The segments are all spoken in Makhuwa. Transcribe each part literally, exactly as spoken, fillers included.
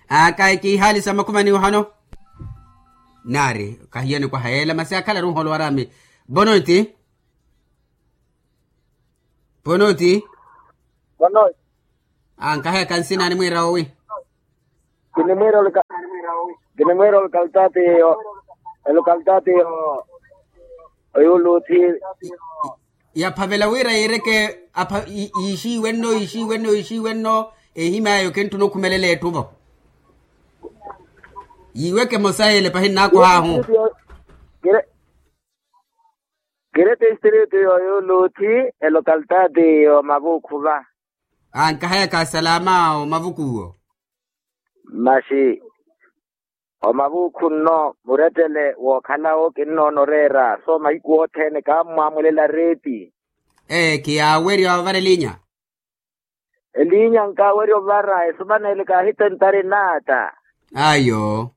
Akayi kiihaali sa makhumani ohano. Naari kahiyani kwaha yeela masi akhalaru nholowaraami. Bonoti. Bonoti. Bonoti. Ankaheka nsina animwiira owi. Kinimwiira olukaltaati. Olukaltaati. Oyuluthi. Yaphavela wira yiireke. Yiixiiwenno yiixiiwenno yiixiiwenno. Ehimyayo kintthuna okhumelela etthu-vo. Yiiweke emosa yeele pahi nnaakohaahu. Kiri tistritu yoyuluthi. Elokaltaati yomavuukhu va. Ankahayaka salama omavukuwo. Maxi. Omavuukhu nno murettele wookhalawo kinnoona oreera so mahiku othene kaammwaamulela reeti. Ee khiyaawerya ovara eliinya. Eliinya nkaawerya ovara esumanele kaahitentari naata. Ayo.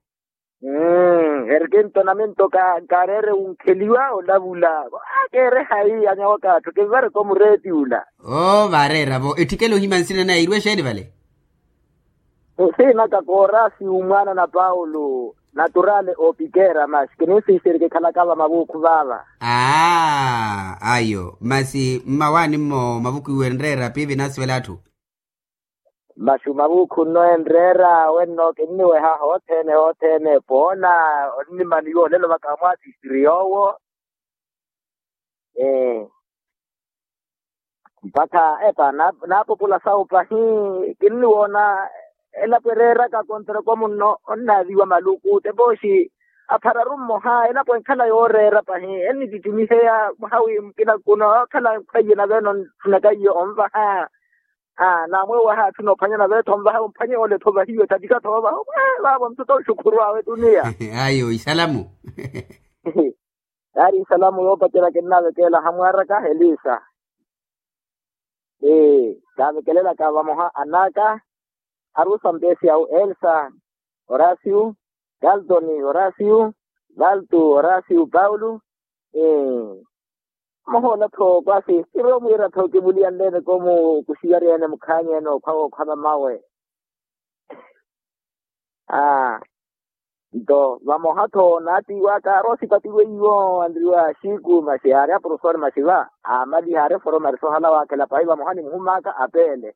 Mmm eri kintona minto. Nkaareere wunkheliwa olavula. Akeere hayi anyawa kaatthu kinvareke omureeti ula. Oo vaareera-vo etthikela ohimya nsina naye iirwe exeeni vale. Nsiinaka koorasi umwaana na paulo. Naturale opikera masi kininsiisiri kikhalaka vamavuukhu vaava. Aaa ayo masi mmawaani mmo mavuku iwe enreera piivi naasivela atthu. Masi omavuukhu nno enreera wenno kinniweha hothene hothene poona. Onnimaniwa olelo vaka mwaasisiri yoowo. Ee. Mpakha epa naapopula sawu pahi. Kinniwoona elapo ereeraka kontreko munno onnaaviwa maluku tepooxi aphararu mmoha elapo enkhala yooreera pahi ennitittimiheya mwaha wi mukina kuno okhala nkhwaiye nave eno ntthunaka iyo onvaha. Naamweewaha atthu noophwanya nave-tho onvaha omphwanye ole-tho ovahiwe tatika-tho ovaha omweevaavo nthu tonxukhuru awe tuniya. Ayo isalamu. Yaari isalamu yoopacerya kinnavekeela hamwaaraka elisa. Ee kaavekelelaka vamoha an'aka arusa mpesi awu elsa, horacio, galtoni horacio, valtu horacio paulo. Ee. Vamoha ola-tho kwasi kiroomuwira-tho kivuliyanleene koomu kuxiwarya ene mukhaanyi ene okhwa wookhwa mamawe. Aa. Nto vamoha-tho naatiiwaka aari osipatiwa iwo anriwa xiku masi aari aprofesori masi va aamaliha aari eforomari soohala waakhela pahi vamoha nimuhumaaka apeele.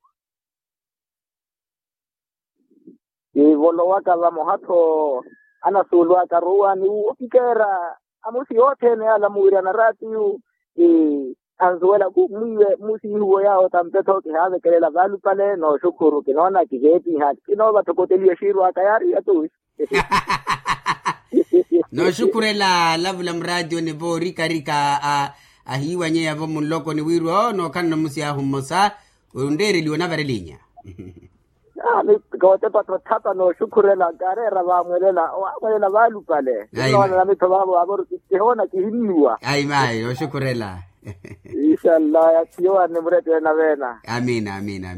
Kivolowaka vamoha-tho anasuulwaka aruwa ni opikeera amusi othene yaala muwiryana raatiyu. Ansuwela ku mwiiwe musiihuwo yaawo tampe-tho kihaavekelela vaalupale nooxukhuru kinoona kiveepiha kinoova thokoteliwe xiirwaka yaari yatuwi. Nooxukhurela lavula muraatiyoni voorikarika ahiiwanyeya-vo munlokoni wiiri oo nookhalana omusi ahu mmosa. Onreereliwa onavara eliinya. Kootepa-tho thapa nooxukhurela nkaareera vaamwelela owaamwelela vaalupale. Kinnoona namitho vaavo vaavoru kihoona kihinnuwa. Ayi mayi nooxukhurela. Inshallah yathiyowanne murettele naveena. Amiina amiina.